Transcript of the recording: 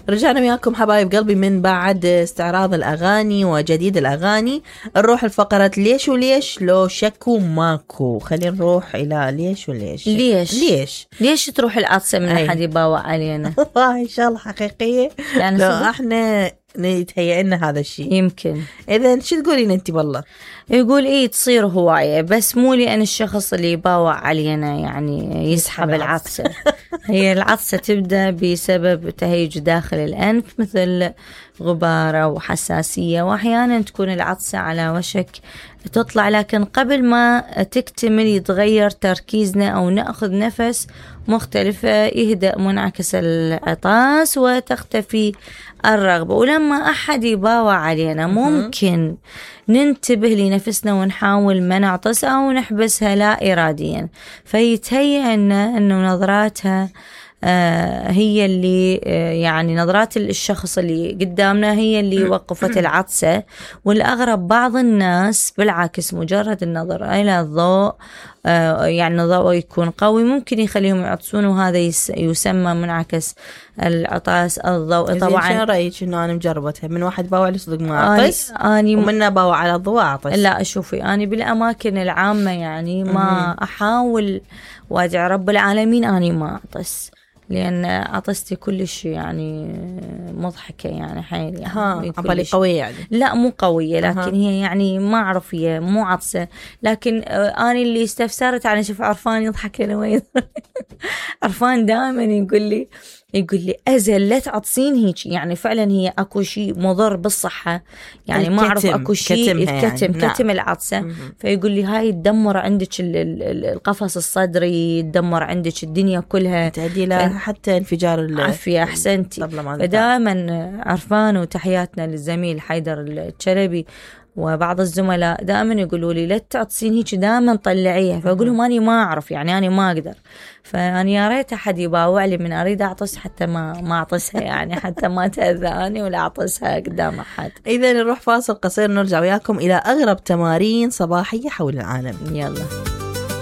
رجعنا وياكم حبايب قلبي من بعد استعراض الأغاني وجديد الأغاني. نروح الفقرة ليش وليش لو شكو ماكو. خلينا نروح إلى ليش وليش. ليش تروح العطسة من أحد يباوع علينا؟ إن شاء الله حقيقية يعني لو احنا نتهيأ لنا هذا الشيء يمكن. إذا شو تقولين أنت؟ والله يقول إيه تصير هواية، بس مو لأن الشخص اللي يباوع علينا يعني يسحب العطسة. هي العطسة تبدأ بسبب تهيج داخل الأنف مثل غبارة وحساسية، وأحيانا تكون العطسة على وشك تطلع، لكن قبل ما تكتمل يتغير تركيزنا أو نأخذ نفس مختلفة، يهدأ منعكس العطاس وتختفي الرغبة. ولما أحد يباوع علينا ممكن ننتبه لنفسنا ونحاول ما نعطس أو نحبسها لا إراديا، فيتهيأ أنه نظراتها هي اللي يعني نظرات الشخص اللي قدامنا هي اللي وقفت العطسة. والأغرب بعض الناس بالعكس مجرد النظر إلى الضوء يعني الضوء يكون قوي ممكن يخليهم يعطسون، وهذا يسمى منعكس العطاس الضوئي. طبعا شو رأيك إنه أنا مجربتها من واحد باوع لي صدق ما أعطس ومنه باوع على الضوء أعطس؟ لا شوفي، أنا بالأماكن العامة يعني ما أحاول وأدعي رب العالمين أنا ما أعطس، لأن عطستي كلش يعني مضحكة يعني حيل يعني عبالي قوية يعني. لا مو قوية، لكن هي يعني ما أعرف هي مو عطسة، لكن أنا اللي استفسرت عن شوف عرفان يضحك لما عرفان دائما يقول لي أزل لا تعطسين هيك، يعني فعلا هي أكو شيء مضر بالصحة يعني ما أعرف أكو شيء كتم العطسة. فيقول لي هاي تدمر عندك القفص الصدري، تدمر عندك الدنيا كلها، تؤدي لها حتى انفجار عافية. أحسنتي. فدائما عرفان وتحياتنا للزميل حيدر الشلبي وبعض الزملاء دائما يقولوا لي لا تعطسين هيك، دائما طلعيها. فأقول لهم أنا ما أعرف يعني أنا ما أقدر، فأنا يا ريت أحد يباوع لي من أريد أعطس حتى ما أعطسها يعني حتى ما تأذاني ولا أعطسها قدام أحد. إذا نروح فاصل قصير نرجع وياكم إلى أغرب تمارين صباحية حول العالم. يلا.